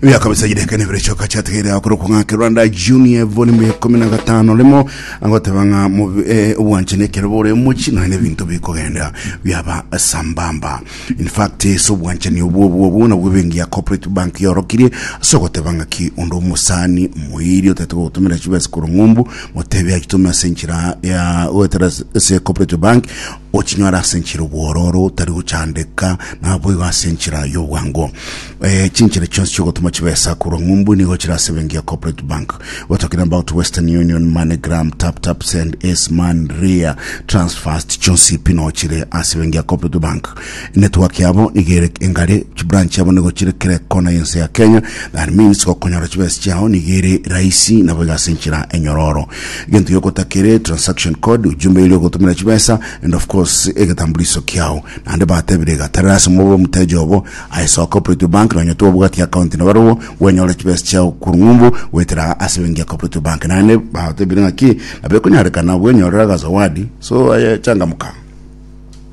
Ebiaka bisa chideka nebere chioka chiatigaire akorokwa ng'a Kerwanda Junior volume ya 15 rimo agoteba ng'a mobi- eh, obwanchani ekero bore omochi nonya nebinto bikogenda biaba sambamba. In fact ase obwanchani obwo obwo obwo nabwo ebenki ya Cooperative Bank yorokirie ase ogoteba ng'aki onde omosani omoiri otagete gogotomera chibesa korwa ng'umbu motebie achitome ase enchera ya goetera ase Cooperative Bank ochinyore ase enchera obwororo otari gochandeka naboigo ase enchera y'obwango. Eh, chinchera chionsi chiogotoma chibesa korwa ng'umbu nigo chire ase ebenki ya Cooperative Bank. We're talking about Western Union, MoneyGram, Tap Tap Send, Aceman, Ria, Transfast, chionsi pi no chire ase ebenki ya Cooperative Bank. Network yabo nigo ere engare, chibranch yabo nigo chire kera ekona y'ense ya Kenya. That means gokonyora chibesa chiao nigo ere rahisi nabo iga ase enchera enyororo. Egento giogotakere transaction code, ujumbe eria ogotomera chibesa and of course egetambuliso kiao. Naende batebire iga, tarera ase mobe omoteja obo Aye soa Cooperative Bank nonya tobwati account nabarobwo bwenyore chibesa chiao korwa ng'umbu goetera ase benki ya Cooperative Bank. Naende batebire ng'aki nabo ekonyarekana bwenyorere agazawadi so aye changamuka.